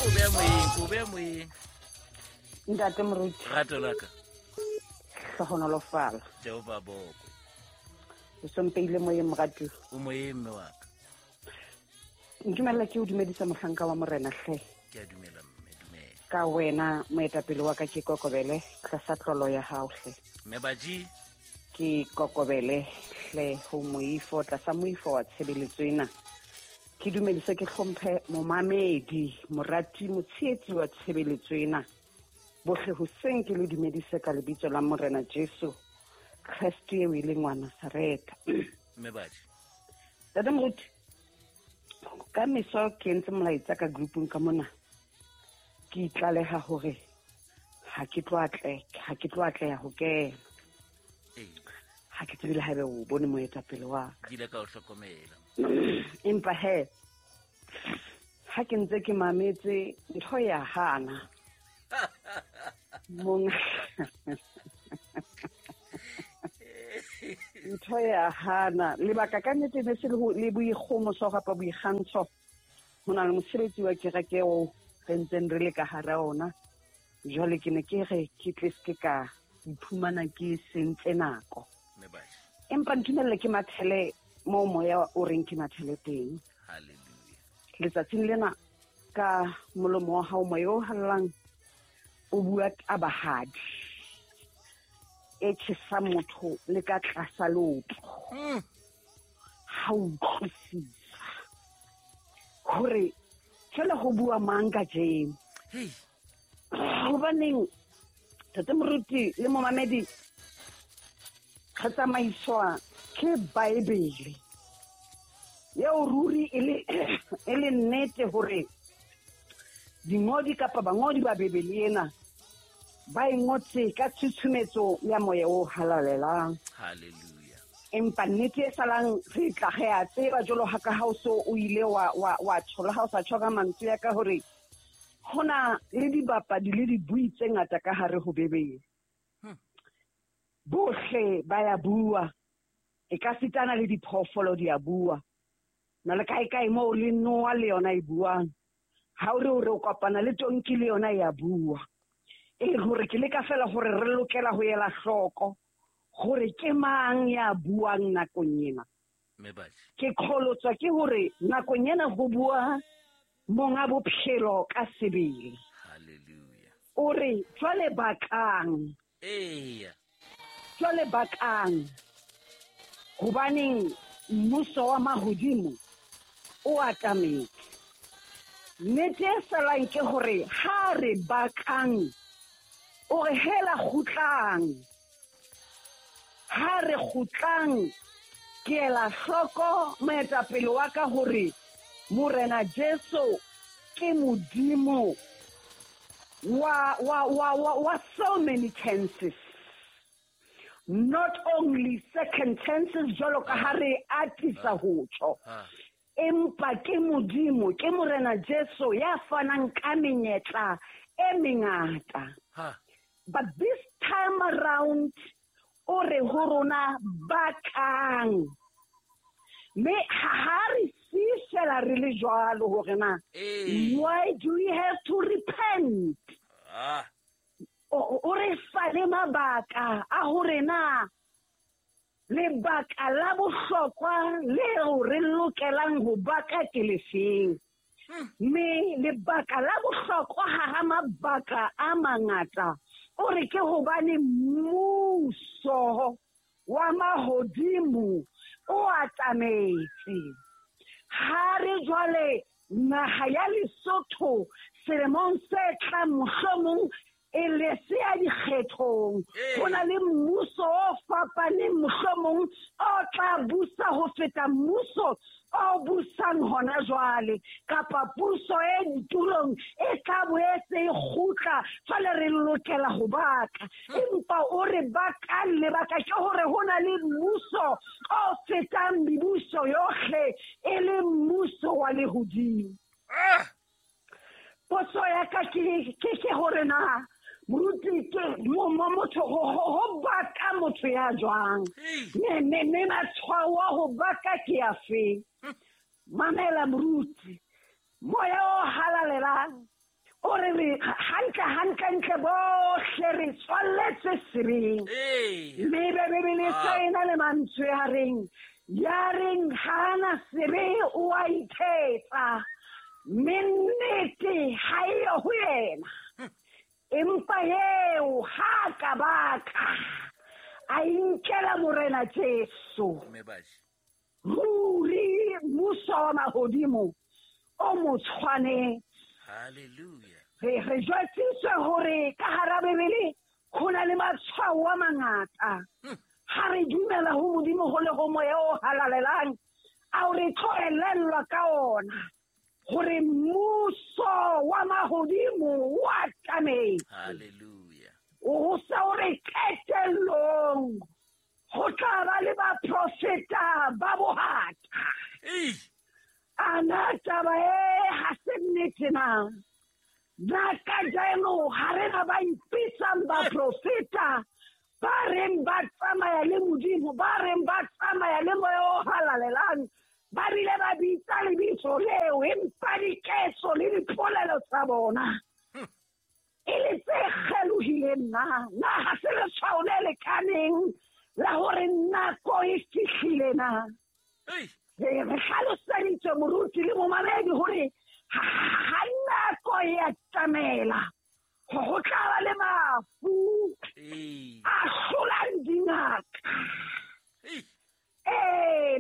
Ko beya moyeng, ko beya moyeng. Ntate Moruti. Rato la ka. Hlohonolofala. Jehova bokwe. O sompeile moyeng moratuwa. O moyeng mme wa ka. Ntumella ke o dumedisa mohlanka wa Morena hle. Ke a dumela mme, dumela. Ka wena moetapele wa ka ke kokobele tlasa tlolo ya hao hle. Mme Baji. Ke kokobele hle ho moifo tlasa moifo wa tshebeletso ena. Ke dumedise ke hlomphe momamedi, morati, motshehetsi wa tshebeletso ena. Bohle hoseng ke le dumedise ka lebitso la Morena Jesu Kreste eo e leng wa Nasaretha. Mme Baji. Ntate Moruti, ka meso ke entse molaetsa ka groupung ka mona. Ke itlaleha hore ha ke tlo atleha, ha ke tlo atleha ho kena. Ha ke tsebe le haebe o bone moetapele wa ka. Ke ile ka o hlokomela. Empa he, ha ke ntse ke mametse ntho ya hana. Mong ntho ya hana lebaka ka nnete ne se le boikgomoso kapa boikgantsho. Ho na le mosebetsi wa kereke o re ntseng re le ka hara ona. Jwale ke ne ke re ke tle se ka iphumana ke sentse nako. Empa ntumelle ke mathele moo moya o reng ke mathele teng. Hallelujah. Letsatsing lena ka molomo wa hao moya o hallang o bua tabahadi e tjhesang motho le ka tlasa leoto. Ha o utlwisisa hore jwale ho bua mang kajeno. Hobaneng Ntate Moruti le momamedi re tsamaiswa ke Bible eo ruri e le nnete hore dingodi kapa bangodi ba Bibele ena ba e ngotse ka tshutshumetso ya moya o halalelang. Hallelujah. Empa nnete e salang re tla re a tseba jwalo ha ka ha o so o ile wa tshola ha o sa tjho ka mantswe ya ka hore hona le dibapadi le dibui tse ngata ka hare ho Bibele. Bohle ba ya bua, e ka sitana le diphoofolo di a bua. Na le kae kae moo le noa le yona e buang. Ha o re o re o kopana le tonki le yona e a bua. E le hore ke leka fela hore re lokela ho ela hloko hore ke mang ya buang nakong ena. Ke qholotswa ke hore nakong ena ho bua monga bophelo ka sebele. Hallelujah. O re jwale bakang. Eya. Jwale bakang. Hobaneng mmuso wa mahodimo o atametse. Nnete e salang ke hore ha re bakang, o re hela kgutlang. Ha re kgutlang, ke ela hloko moetapele wa ka hore Morena Jesu ke Modimo wa so many chances. Not only second chances jwalo ka ha re atisa ho tjho. Empa ke Modimo, ke Morena Jesu ya fanang ka menyetla e mengata. But this time around, o re ho rona bakang. Mme ha re fihlela re le jwalo hore na, why do we have to repent? O re fa le mabaka a hore na lebaka la bohlokwa leo re lokelang ho baka ke lefeng. Mme lebaka la bohlokwa hara mabaka a mangata, o re ke hobane mmuso wa mahodimo o atametse. Ha re jwale naha ya Lesotho selemong se tlang mohlomong e le se ya dikgethong. Ho na le mmuso o fapaneng mohlomong o tla busa ho feta mmuso o busang hona jwale, kapa puso e ditulong e tla boetse e kgutla. Jwale re lokela ho baka. Empa o re bakang lebaka ke hore ho na le mmuso o fetang mebuso yohle, e le mmuso wa lehodimo. Potso ya ka ke hore na moruti ke motho ho baka motho ya jwang? Me matshwao a ho baka ke afe? Mamela moruti, moya o halalelang hore re hantle bohle re tswalletswe sebeng. Mme Bibele e na le mantswe a reng, ya reng hana sebe o a ithetsa, mme nnete ha eyo ho yena. Empa eo ha ka baka a inkela Morena Jesu. Ruri mmuso wa mahodimo o mo tshwanetse. Hallelujah. Re jwetsitswe hore ka hara Bibele ho na le matshwao a mangata. Ha re dumela ho Modimo ho le ho Moya o halalelang, ao re tlo elellwa ka ona hore mmuso wa mahodimo o atametse. Hallelujah. O sa o re qetellong ho tla ba le baprofeta ba bohata. Ana taba e ha se nnete na? Na kajeno ha re na ba ipitsang baprofeta ba reng ba tsamaya le Modimo, ba reng ba tsamaya le Moya o halalelang, ba bile ba bitsa lebitso leo, empa diketso le dipolelo tsa bona e le tse kgelohileng na? Na ha se letshwao le lekaneng la hore nako e fihlile na? Re hlaloseditswe moruti le momamedi hore ha nako e atamela ho tla ba le mafu a hlolang dingaka.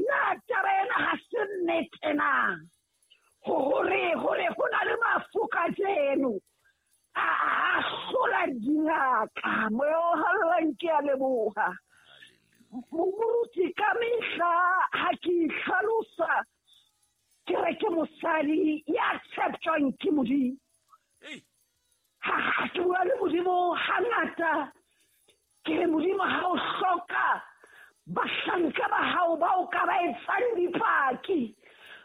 Na taba ena ha se nnete na? Hore ho na le mafu kajeno a hlola dingaka. Moya o halalelang ke a leboha. Moruti, ka mehla ha ke itlhalosa ke re ke mosadi ya tsheptjwang ke Modimo. Ha ke bua le Modimo hangata ke re, Modimo, ha o hloka bahlanka ba hao ba o ka ba etsang dipaki,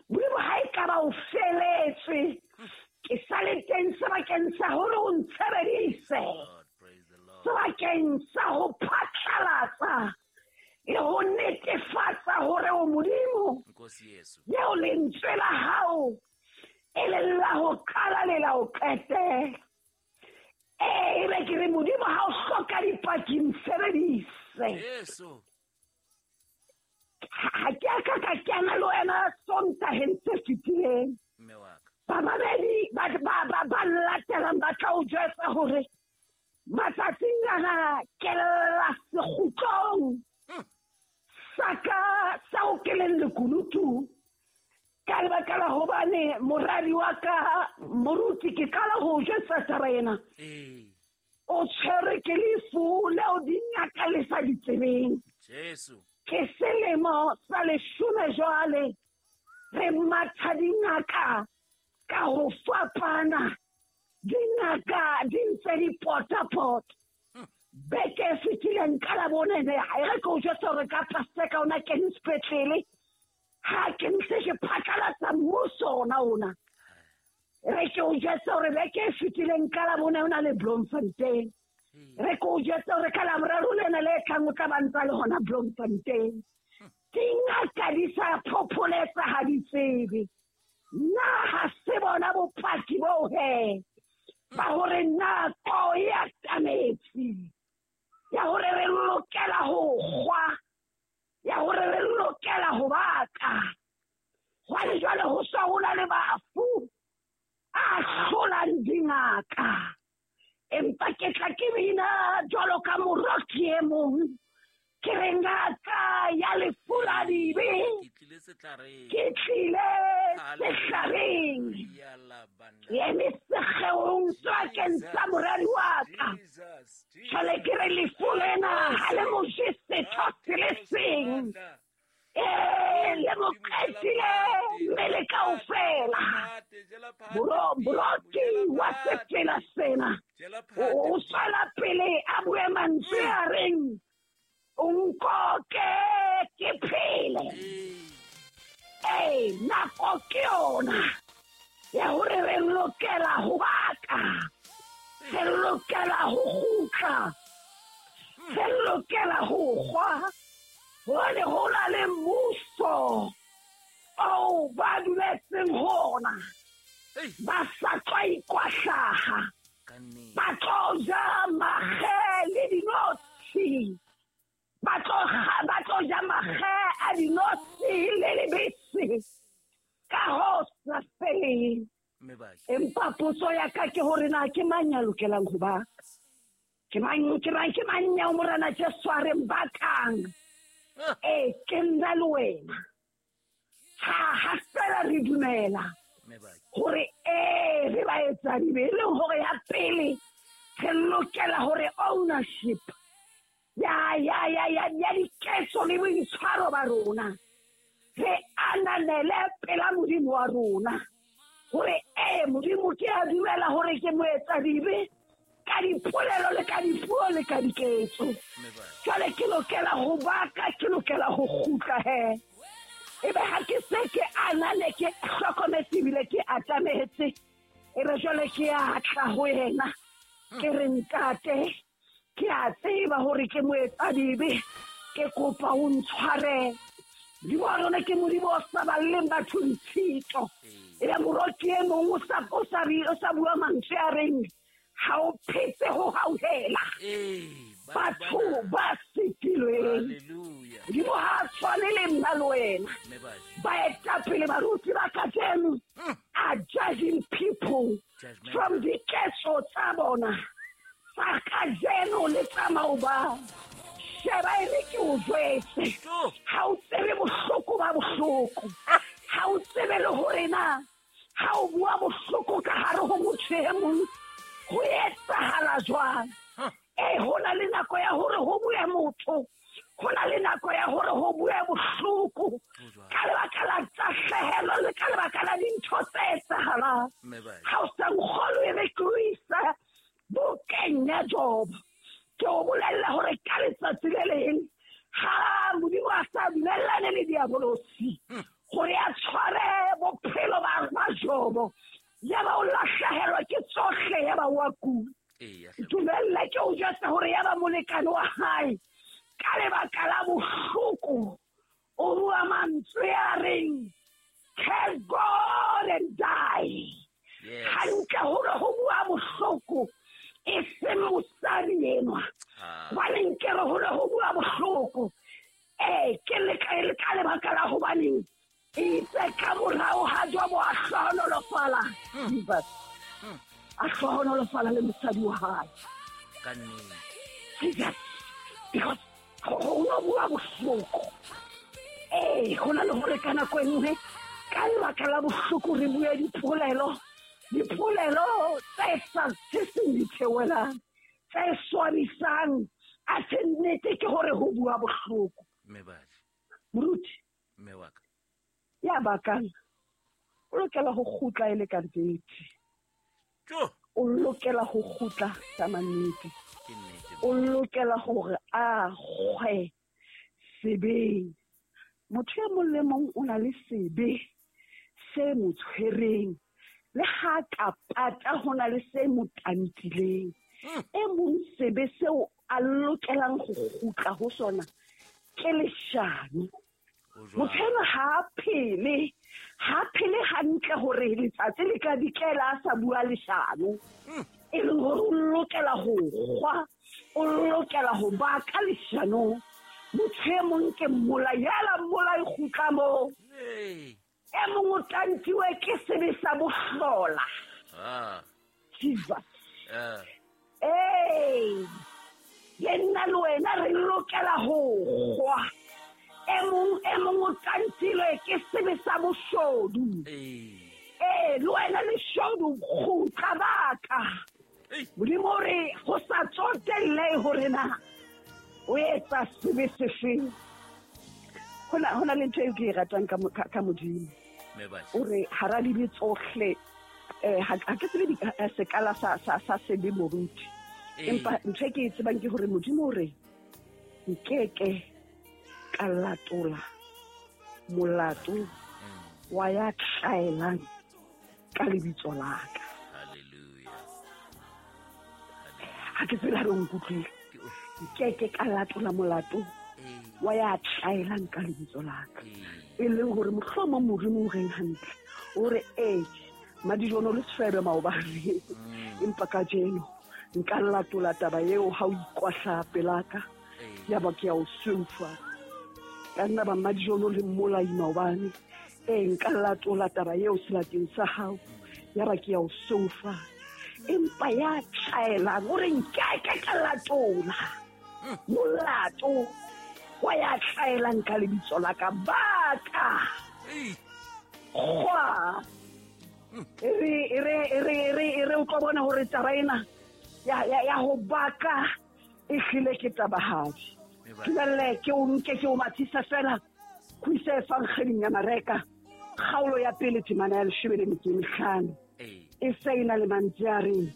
Modimo ha e ka ba o feletswe, ke sa le teng sebakeng sa hore o ntshebedise, sebakeng sa ho phatlalatsa le ho netefatsa hore o Modimo eo lentswe la hao e leng la ho qala le la ho qetela. Ebe ke re, Modimo, ha o hloka dipaki ntshebedise. Ha ke a ka ka kena le wena Sontaheng se fetileng. Bamamedi ba latelang ba tla o jwetsa hore matsatsing ana ke lla sekgutlong sa ka sa o ke leng lekunutu, ka lebaka la hobane moradi wa ka moruti, ke qala ho jwetsa taba ena, o tshwerwe ke lefu leo dingaka le sa di tsebeng. Ke selemo sa 10 jwale re matha dingaka ka ho fapana, dingaka di ntse di potapota. Beke e fetileng ka Labone, e re ke o jwetsa hore ka Paseka ona kene sepetlele, ha ke ntse ke phatlalatsa mmuso ona. Re ke o jwetsa hore beke e fetileng ka Labone o na le Bloemfontein. Re ke o jwetsa hore ka Laboraro lena le tlang o tla ba ntsa le hona Bloemfontein. Dingaka di sa phopholetsa, ha di tsebe. Na ha se bona bopaki boo he ba hore nako e atametse ya hore re lokela ho kgwa, ya hore re lokela ho baka. Hwane jwale ho sa ho na le bafu a hlolang dingaka. Empa ke tla ke bina jwalo ka moroki e mong, ke re ngaka ya lefu la dibe, ke tlile sehlareng, ke eme sekgeong sebakeng sa moradi wa ka. Jwale ke re lefu lena ha le mo je setho se le seng, le mo qetile mmele kaofela. Moroki wa sefela sena o tswela pele a bue mantswe a reng, o nkoke ke phele. Nako ke yona ya hore re lokela ho baka, re lokela ho kgutla, re lokela ho kgwa, hobane ho na le mmuso oo ba dumetseng ho ona, ba sa tswa ikwahlaha. Empa potso ya ka ke hore na ke mang ya lokelang ho baka? Ke mang ke mang ke mang ya Morena Jesu a reng bakang? Ee, ke nna le wena. Ha fela re dumela hore ee re ba etsa dibe, e leng hore ya pele re lokela hore ownership ya ya ya ya ya diketso le boitshwaro ba rona re ananele pela Modimo wa rona hore ee Modimo ke a dumela hore ke moetsadibe ka dipolelo le ka dipuo le ka diketso. Jwale ke lokela ho baka, ke lokela ho kgutla he. Ebe ha ke se ke anane, ke hlokometse ebile ke atametse, ebe jwale ke a tla ho yena ke re ntate, ke a tseba hore ke moetsadibe, ke kopa o ntshwarele. Modimo wa rona ke Modimo o sa balleng batho ditshito. Ebe moroki e mong o sa bua mantswe a reng ha o phetse ho hauhela batho ba sitilweng. Modimo ha a tshwane le nna le wena. Baetapele baruti ba kajeno are judging people from diketso tsa bona tsa kajeno le tsa maobane. Sheba e re ke o jwetse, ha o tsebe bohloko ba bohloko, ha o tsebe le hore na ha o bua bohloko ka hare ho motho e mong ho etsahala jwang. Ee, ho na le nako ya hore ho bue motho, ho na le nako ya hore ho bue bohloko ka lebaka la tahlehelo le ka lebaka la dintho tse etsahalang. Ha o sa nkgolwe, e re ke o ise bukeng ya Jobo, ke o bolella hore ka letsatsi le leng ha Modimo a sa dumellane le diabolosi hore a tshware bophelo ba Jobo, ya ba o lahlehelwa ke tsohle, ya ba wa kula. Dumelle ke o jwetse hore ya ba molekane wa hae ka lebaka la bohloko o bua mantswe a reng curse God and die. Hantle hore ho bua bohloko e seng mosadi enwa, hobane nke re hore ho bua bohloko ee ke ka lebaka la hobaneng itse ka morao ha Jobo a hlohonolofala, Jesus a hlohonolofala le mosadi wa hae. Jesus, because ho no bua bohloko. Ee, ho na le hore ka nako e nngwe ka lebaka la bohloko re bue dipolelo tse sa seng di theohelang, tse swabisang. A se nnete ke hore ho bua bohloko. Moruti ya bakang o lokela ho kgutla e le ka nnete. O lokela ho kgutla ka mannete. O lokela hore a kgwe sebeng. Motho e mong le mong o na le sebe se mo tshwereng, le ha ka pata ho na le se mo tantileng. E mong sebe seo a lokelang ho kgutla ho sona ke leshano. Motho enwa ha a phele hantle hore letsatsi le ka dikela a sa bua leshano. E leng hore o lokela ho kgwa, o lokela ho baka leshanong. Motho e mong ke mmolai, yala mmolai kgutla moo. E mong o tantiwe ke sebe sa bohlola. Jesus. Ee, le nna le wena re lokela ho kgwa. E mong o tantilwe ke sebe sa boshodu. Ee, le wena leshodu kgutla baka. Modimo o re ho sa tsotelle hore na o etsa sebe sefeng. Ho na le ntho eo ke e ratang ka Modimo. O re hara dibe tsohle, ha ke tsebe sekala sa sebe moruti. Empa ntho e ke e tsebang ke hore Modimo o re nkeke ka latola molato wa ya tlaelang ka lebitso la ka. Ha ke tsebe ha re nkutlwile. Nkeke ka latola molato wa ya tlaelang ka lebitso la ka. E leng hore mohlomong Modimo o reng hantle, o re ee madijono le sefebe maobane, empa kajeno nka latola taba eo ha o ikwahla pelaka, ya ba ke ya o sweufa. Ka nna ba madijono le mmolai maobane, ee nka latola taba eo sebakeng sa hao. Ya ba ke ya o soufa. Empa ya tlaelang o re nkeke ka latola molato wa ya tlaelang ka lebitso la ka baka. Kgwa. E re o tlo bona hore taba ena ya ho baka e hlile ke tabahadi. Dumelle ke o nke ke o mathisa fela go ise efankgeding ya Mareka kgaolo ya pele temana ya 15. E se e na le mantswe a reng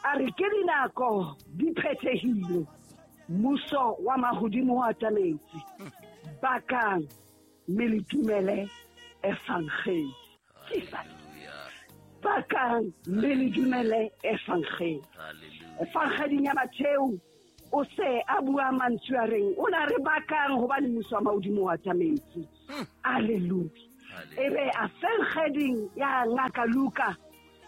a re ke dinako di phethehile, mmuso wa mahodimo o atametse, bakang mme le dumele efankgedi. Jesus. Bakang mme le dumele efankgedi. Efankgeding ya Matheu o se a bua mantswe a reng o na re bakang hobane mmuso wa mahodimo o atametse. Alleluia. Ebe a fenkgeding ya ngaka Luka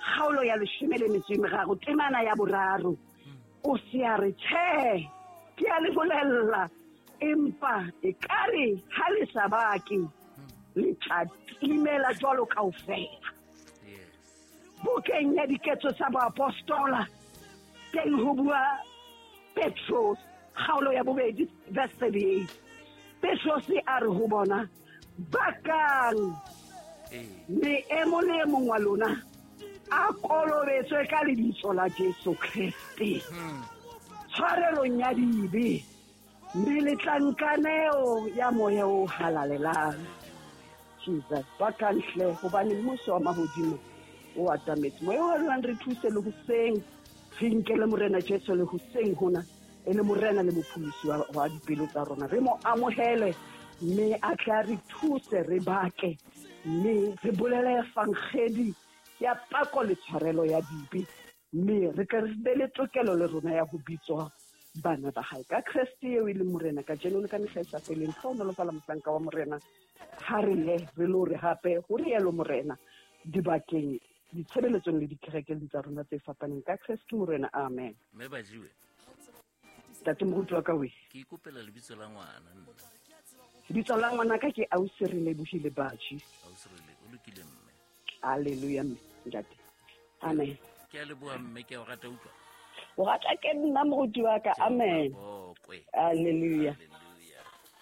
kgaolo ya 13 temana ya 3 o se a re tjhe ke a le bolella empa e kare ha le sa bake le tla timela jwalo kaofela. Bukeng ya Diketso tsa Boapostola teng ho bua Petros kgaolo ya 2 verse 38. Petros a re ho bona bakang mme e mong le e mong wa lona a kolobetswe ka lebitso la Jesu Kreste tshwarelong ya dibe mme le tla nka neo ya moya o halalelang. Jesus, bakang hle hobane mmuso wa mahodimo o atametse. Moya o halalelang re thuse le hoseng re nkele Morena Jesu le hoseng hona e le Morena le mopholosi wa dipelo tsa rona. Re mo amohele mme a tla re thuse re bake mme re bolele efankgedi ya pako le tshwarelo ya dibe mme re tle re be le tokelo le rona ya ho bitswa bana ba hae ka Kreste eo e leng Morena kajeno le ka mehla e sa feleng. Hlohonolofala mohlanka wa Morena ha re ye re lo re hape ho rialo Morena dibakeng ditshebeletsong le dikerekeng tsa rona tse fapaneng ka Kreste Morena. Amen. Mme Bajiwe. Ntate moruti wa ka we. Ke ikopela lebitso la ngwana nna. Lebitso la ngwana ka ke Ausi re lebohile Baji. Ausi re o lokile mme. Hallelujah mme ntate. Amen. Ke a leboha mme ke a o rata utlwa. O rata ke nna moruti wa ka. Amen. Hallelujah.